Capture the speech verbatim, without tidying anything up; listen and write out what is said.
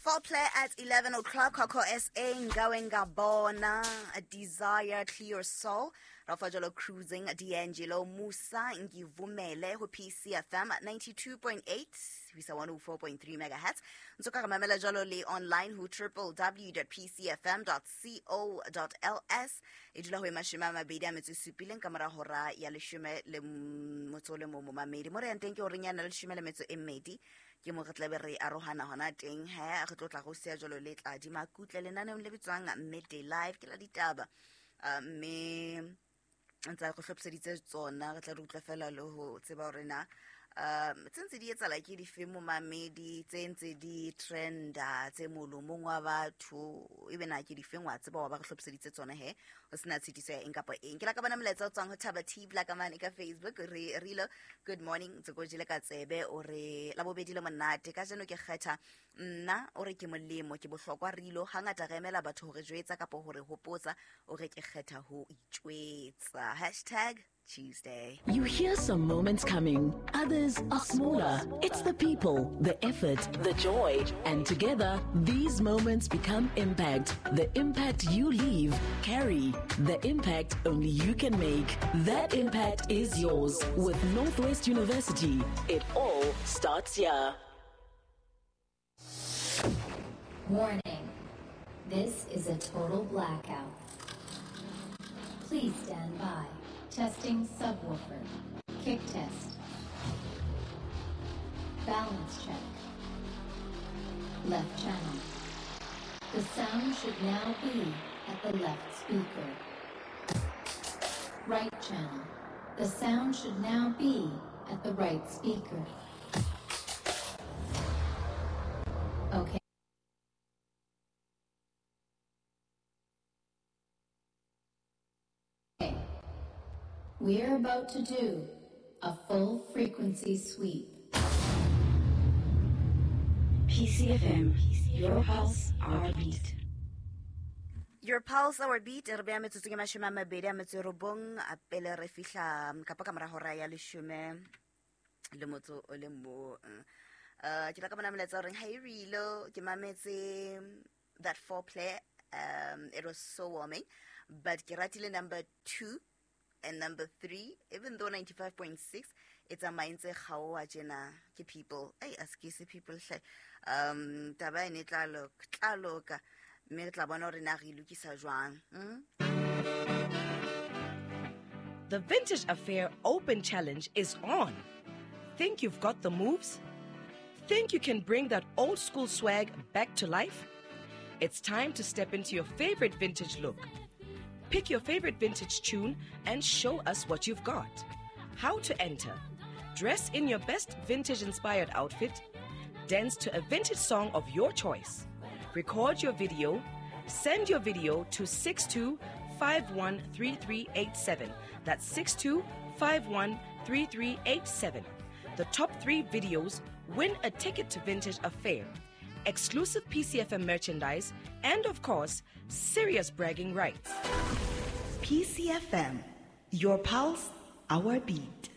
Foreplay at eleven o'clock, Coco S A, Ngawe Ngabona, Desire, Clear Soul, Rafajolo Cruising, D'Angelo, Musa, Ngivumele, ho P C F M ninety-two point eight, ho isa one oh four point three megahertz. Ntsoka re mamela jwalo le online ho w w w dot p c f m dot co dot l s. E dula ho e mashome a mabedi a metso e supileng ka mora hora ya leshome le motso le mo momamedi. Mo re yang teng ke horeng ya na leshome le metso e mmedi. Ke mo re tlabe re arohana hona teng he re tlo tla go sia jwalo le tla di makutle lenaneong le bitswang Midday Live ke la ditaba. Mme ntse go hlophiseditse tsona re tla re utlwa fela le ho tseba hore na um tse ntse di etsahala ke dife momamedi, tse ntse di trenda tse molomong wa batho ebe na ke difeng wa tseba wa ba re hlophiseditse tsona he ho sena tshitiso ya eng kapa eng. Ke la ka bona molaetsa o tswang ho Thaba T Black man ka Facebook re rilo good morning tse go jele ka tsebe o re la bobedi le monate ka jeno ke kgetha nna o re ke molemo ke bohlokwa rilo hangata re emela batho hore jwetsa kapa hore hopotsa o re ke kgetha ho itjwetsa hashtag Tuesday. You hear some moments coming, others are smaller. It's the people, the effort, the joy, and together, these moments become impact. The impact you leave, carry. The impact only you can make. That impact is yours. With Northwest University, it all starts here. Warning, this is a total blackout. Please stand by. Testing subwoofer. Kick test. Balance check. Left channel. The sound should now be at the left speaker. Right channel. The sound should now be at the right speaker. Okay. We're about to do a full frequency sweep. P C F M, your pulse, our beat. Your pulse, our beat. Re beya metsotso ke mashome a mabedi a metso e robong, a pele re fihla kapa ka mora hora ya leshome le motso o le mong. Uh, ke la ka bona molaetsa o reng, "Hey Rilo, ke mametse that foreplay. Um, it was so warming, but ke ratile number two and number three, even though ninety-five point six, it's a mindset kgaoha tjena ke people. Ai aske se people hle. Um, taba ene tla loka, tla loka. Mme re tla bona hore na re lokisa jwang. Mm? The Vintage Affair Open Challenge is on. Think you've got the moves? Think you can bring that old school swag back to life? It's time to step into your favorite vintage look. Pick your favorite vintage tune and show us what you've got. How to enter. Dress in your best vintage-inspired outfit. Dance to a vintage song of your choice. Record your video. Send your video to six two five one three three eight seven. That's six two five one three three eight seven. The top three videos win a ticket to Vintage Affair, exclusive P C F M merchandise, and of course, serious bragging rights. P C F M, your pulse, our beat.